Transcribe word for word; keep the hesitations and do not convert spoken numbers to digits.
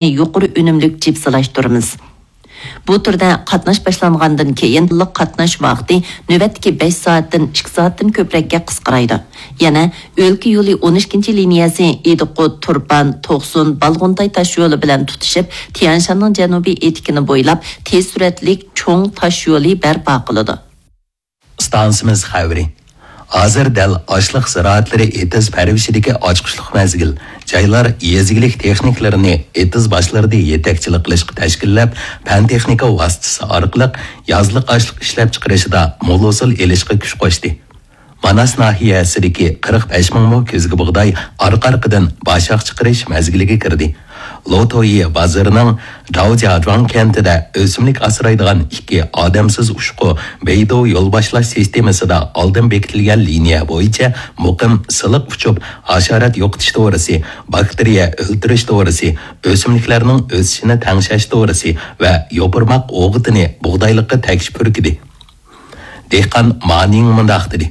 يۇقىرى ئۈنۈملۈك جىپسىلاشتۇرىمىز. بۇ تۈردە قاتناش باشلانغاندىن كېيىن، قاتناش ۋاقتى نۆۋەتتىكى بەش سائەتتىن ئىككى سائەتتىن كۆپرەككە قىسقىرايدۇ. يەنە ئۆلكە يولى ئون ئىككىنچى لىنىيەسى ئىدىقۇت، تۇرپان، توقسۇن، بالغۇنتاي تاشيولى بىلەن تۇتىشىپ، تيەنشاننىڭ جەنۇبىي ئېتىكىنى بويلاپ تېز سۈرئەتلىك چوڭ تاشيولى بەرپا قىلىدۇ. ئىستانسىمىز خەۋىرى. ھازىر دەل ئاشلىق زىرائەتلىرى ئېتىز پەرۋىشىدىكى ئاچقۇچلۇق مەزگىل. جايلار يېزا ئىگىلىك تېخنىكلىرىنى ئېتىز باشلىرىدا يېتەكچىلىك قىلىشقا تەشكىللەپ، پەن-تېخنىكا ۋاسىتىسى ئارقىلىق يازلىق ئاشلىق ئىشلەپچىقىرىشىدا مول ھوسۇل ئېلىشقا كۈچ قوشتى. ماناس ناھىيەسىدىكى قىرىق بەش مىڭ مو كۆزگە بۇغداي ئارقا-ئارقىدىن باشاق چىقىرىش مەزگىلىگە كىردى. لوتويى بازىرىنىڭ داۋجياجۇاڭ كەنتىدە ئۆسۈملۈك ئاسرايدىغان ئىككى ئادەمسىز ئۇچقۇ بەيدۇ يول باشلاش سىستېمىسىدا ئالدىن بېكىتىلگەن لىنىيە بويىچە مۇقىم سىلىق ئۇچۇپ، ھاشارات يوقىتىش دورىسى، باكتېرىيە ئۆلتۈرۈش دورىسى، ئۆسۈملۈكلەرنىڭ ئۆسۈشىنى تەڭشەش دورىسى ۋە يوپۇرماق ئوغۇتىنى بۇغدايلىققا تەكشى پۈركىدى. دېھقان مانىڭ مۇنداق دېدى.